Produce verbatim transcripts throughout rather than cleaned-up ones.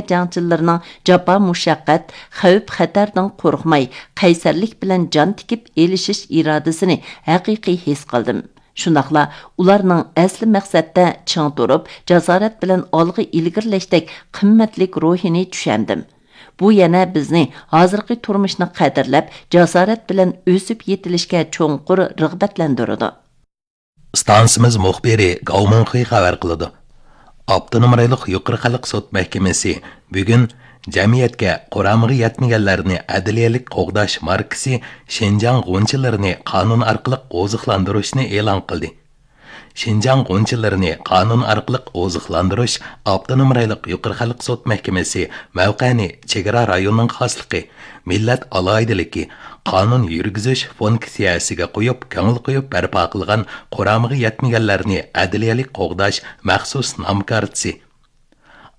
جەڭچىلىرىنىڭ جاپا مۇشەققەت، خەۋپ خەتەردىن قورقماي، قەيسەرلىك بىلەن جان تىكىپ ئېلىشىش ئىرادىسىنى ھەقىقىي ھېس قىلدىم. شۇنداقلا ئۇلارنىڭ ئەسلى مەقسەتتە چىڭ تۇرۇپ، جاسارەت بىلەن ئالغا ئىلگىرىلەشتەك قىممەتلىك روھىنى چۈشەندىم. بۇ يەنە بىزنى ھازىرقى تۇرمۇشنى قەدىرلەپ، جاسارەت بىلەن ئۆسۈپ يېتىلىشكە چوڭقۇر رىغبەتلەندۈرىدۇ. ئىستانسىمىز مۇخبىرى گاۋ مىڭخېي خەۋەر قىلىدۇ. ئاپتونوم رايونلۇق يۇقىرى خەلق سوت مەھكىمىسى بۈگۈن جەمئىيەتكە قۇرامىغا يەتمىگەنلەرنى ئەدلىيەلىك قوغداش ماركىسى شىنجاڭ غۇنچىلىرىنى قانۇن ئارقىلىق ئوزۇقلاندۇرۇشنى ئېلان قىلدى. شىنجاڭ غۇنچىلىرىنى قانۇن ئارقىلىق ئوزۇقلاندۇرۇش ئاپتونوم رايونلۇق يۇقىرى خەلق سوت مەھكىمىسى مەۋقەنى چېگرا رايونىنىڭ خاسلىقى، مىللەت ئالاھىدىلىكى، قانۇن يۈرگۈزۈش فۇنكسىيەسىگە قويۇپ، كۆڭۈل قويۇپ بەرپا قىلغان قۇرامىغا يەتمىگەنلەرنى ئەدلىيەلىك قوغداش مەخسۇس نام كارتىسى.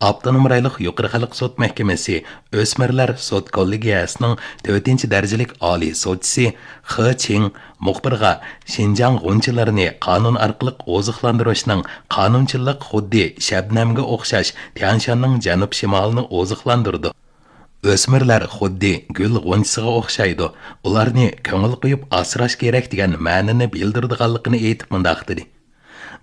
ئاپتونوم رايونلۇق يۇقىرى خەلق سوت مەھكىمىسى ئۆسمۈرلەر سوت كوللېگىيەسىنىڭ تۆتىنچى دەرىجىلىك ئالىي سوتچىسى خې چىڭ مۇخبىرغا شىنجاڭ غۇنچىلىرىنى قانۇن ئارقىلىق ئوزۇقلاندۇرۇشنىڭ قانۇنچىلىق خۇددى شەبنەمگە ئوخشاش تيەنشاننىڭ جەنۇب شىمالىنى ئوزۇقلاندۇرىدۇ. ئۆسمۈرلەر خۇددى گۈل غۇنچىسىغا ئوخشايدۇ، ئۇلارنى كۆڭۈل قويۇپ ئاسراش كېرەك دېگەن مەنىنى بىلدۈرىدىغانلىقىنى ئېيتىپ مۇنداق دېدى.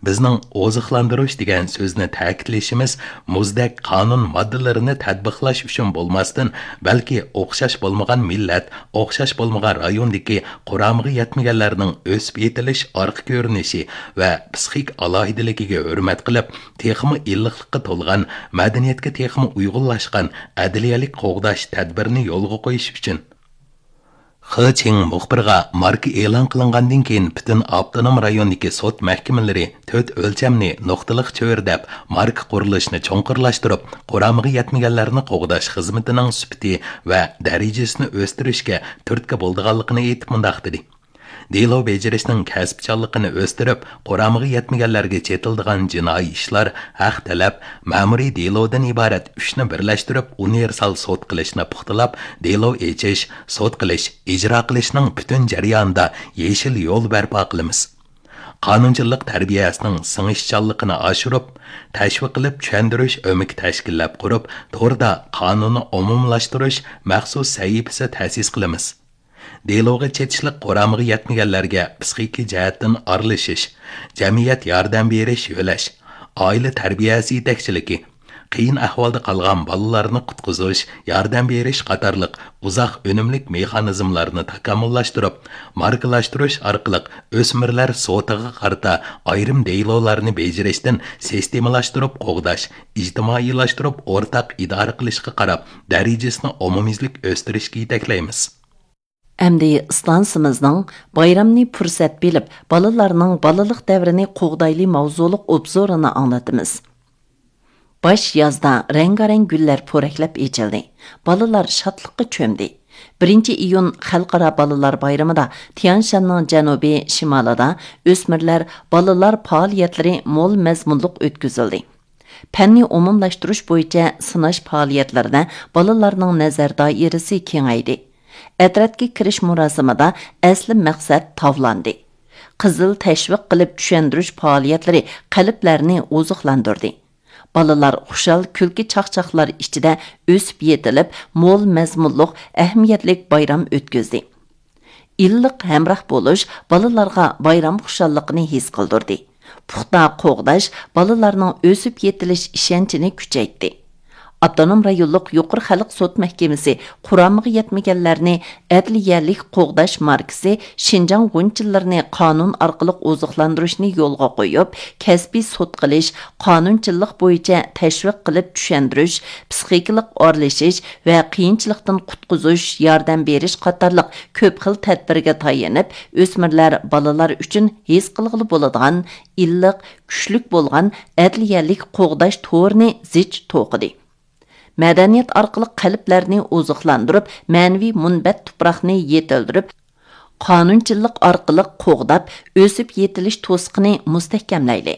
بىزنىڭ ئوزۇقلاندۇرۇش دېگەن سۆزنى تەكىتلىشىمىز مۇزدەك قانۇن ماددىلىرىنى تەتبىقلاش ئۈچۈن بولماستىن، بەلكى ئوخشاش بولمىغان مىللەت، ئوخشاش بولمىغان رايوندىكى قۇرامىغا يەتمىگەنلەرنىڭ ئۆسۈپ يېتىلىش ئارقا كۆرۈنۈشى ۋە پسىخىك ئالاھىدىلىكىگە ھۆرمەت قىلىپ، تېخىمۇ ئىللىقلىققا تولغان، مەدەنىيەتكە تېخىمۇ ئۇيغۇنلاشقان ئەدلىيەلىك قوغداش تەدبىرىنى يولغا قويۇش ئۈچۈن. خې چىڭ مۇخبىرغا ماركا ئېلان قىلىنغاندىن كېيىن پۈتۈن ئاپتونوم رايوندىكى سوت مەھكىمىلىرى تۆت ئۆلچەمنى نۇقتىلىق چۆرىدەپ، ماركا قۇرۇلۇشىنى چوڭقۇرلاشتۇرۇپ، قۇرامىغا يەتمىگەنلەرنى قوغداش خىزمىتىنىڭ سۈپىتى ۋە دەرىجىسىنى ئۆستۈرۈشكە تۈرتكە بولىدىغانلىقىنى ئېيتىپ مۇنداق دېدى. دېلو بېجىرىشنىڭ كەسىپچانلىقىنى ئۆستۈرۈپ، قۇرامىغا يەتمىگەنلەرگە چېتىلىدىغان جىنايى ئىشلار، ھەق تەلەپ، مەمۇرىي دېلودىن ئىبارەت ئۈچنى بىرلەشتۈرۈپ، ئۇنىۋېرسال سوت قىلىشنى پۇختىلاپ، دېلو ئېچىش، سوت قىلىش، ئىجرا قىلىشنىڭ پۈتۈن جەريانىدا يېشىل يول بەرپا قىلىمىز. قانۇنچىلىق تەربىيەسىنىڭ سىڭىشچانلىقىنى ئاشۇرۇپ، تەشۋىق قىلىپ چۈشەندۈرۈش ئۆمىكى تەشكىللەپ قۇرۇپ، توردا قانۇننى ئومۇملاشتۇرۇش مەخسۇس سەھىپىسى تەسىس قىلىمىز. دېلوغا چېتىشلىق قۇرامىغا يەتمىگەنلەرگە پسىخىكا جەھەتتىن ئارىلىشىش، جەمئىيەت ياردەم بېرىش يۆلەش، ئائىلە تەربىيەسى يېتەكچىلىكى، قىيىن ئەھۋالدا قالغان بالىلارنى قۇتقۇزۇش، ياردەم بېرىش قاتارلىق ئۇزاق ئۈنۈملۈك مېخانىزملارنى تاكامۇللاشتۇرۇپ، ماركىلاشتۇرۇش ئارقىلىق ئۆسمۈرلەر سوتىغا قارىتا ئايرىم دېلولارنى بېجىرىشتىن سىستېمىلاشتۇرۇپ قوغداش، ئىجتىمائىيلاشتۇرۇپ ئورتاق ئىدارە قىلىشقا قاراپ، دەرىجىسىنى ئومۇميۈزلۈك ئۆستۈرۈشكە يېتەكلەيمىز. ئەمدى ئىستانسىمىزنىڭ بايرامنى پۇرسەت بىلىپ، بالىلارنىڭ بالىلىق دەۋرىنى قوغدايلى ماۋزۇلۇق ئوبزورىنى ئاڭلىتىمىز. باش يازدا رەڭگارەڭ گۈللەر پورەكلەپ ئېچىلدى. بالىلار شادلىققا چۆمدى. بىرىنچى ئىيۇن خەلقئارا بالىلار بايرىمىدا تيەنشاننىڭ جەنۇبىي شىمالىدا ئۆسمۈرلەر بالىلار پائالىيەتلىرى مول مەزمۇنلۇق ئۆتكۈزۈلدى. پەننى ئومۇملاشتۇرۇش بويىچە سىناش پائالىيەتلىرىدە بالىلارنىڭ نەزەر دائىرىسى كېڭەيدى. ئەترەتكە كىرىش مۇراسىمىدا ئەسلى مەقسەت تاۋلاندى. قىزىل تەشۋىق قىلىپ چۈشەندۈرۈش پائالىيەتلىرى قەلبلەرنى ئوزۇقلاندۇردى. بالىلار خۇشال كۈلكە چاقچاقلار ئىچىدە ئۆسۈپ يېتىلىپ، مول مەزمۇنلۇق، ئەھمىيەتلىك بايرام ئۆتكۈزدى. ئىللىق ھەمراھ بولۇش بالىلارغا بايرام خۇشاللىقىنى ھېس قىلدۇردى. پۇختا قوغداش بالىلارنىڭ ئۆسۈپ يېتىلىش ئىشەنچىنى كۈچەيتتى. ئاپتونوم رايونلۇق يۇقىرى خەلق سوت مەھكىمىسى قۇرامىغا يەتمىگەنلەرنى ئەدلىيەلىك قوغداش ماركىسى شىنجاڭ غۇنچىلىرىنى قانۇن ئارقىلىق ئوزۇقلاندۇرۇشنى يولغا قويۇپ، كەسپىي سوت قىلىش، قانۇنچىلىق بويىچە تەشۋىق قىلىپ چۈشەندۈرۈش، پسىخىكىلىق ئارىلىشىش ۋە قىيىنچىلىقتىن قۇتقۇزۇش، ياردەم بېرىش قاتارلىق كۆپ خىل تەدبىرگە تايىنىپ، ئۆسمۈرلەر بالىلار ئۈچۈن ھېس قىلغىلى بولىدىغان ئىللىق، كۈچلۈك بولغان ئەدلىيەلىك قوغداش تورىنى زىچ توقۇدى. مەدەنىيەت ئارقىلىق قەلبلەرنى ئوزۇقلاندۇرۇپ، مەنىۋى مۇنبەت تۇپراقنى يېتىلدۈرۈپ، قانۇنچىلىق ئارقىلىق قوغداپ، ئۆسۈپ يېتىلىش توسۇقىنى مۇستەھكەملەيلى.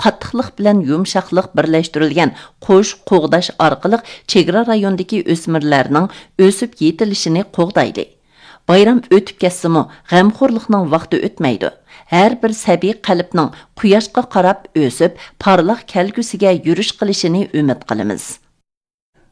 قاتتىقلىق بىلەن يۇمشاقلىق بىرلەشتۈرۈلگەن قوش قوغداش ئارقىلىق چېگرا رايونىدىكى ئۆسمۈرلەرنىڭ ئۆسۈپ يېتىلىشىنى قوغدايلى. بايرام ئۆتۈپ كەتسىمۇ، غەمخورلۇقنىڭ ۋاقتى ئۆتمەيدۇ. ھەر بىر سەبىي قەلبنىڭ قۇياشقا قاراپ ئۆسۈپ، پارلاق كەلگۈسىگە يۈرۈش قىلىشىنى ئۈمىد قىلىمىز.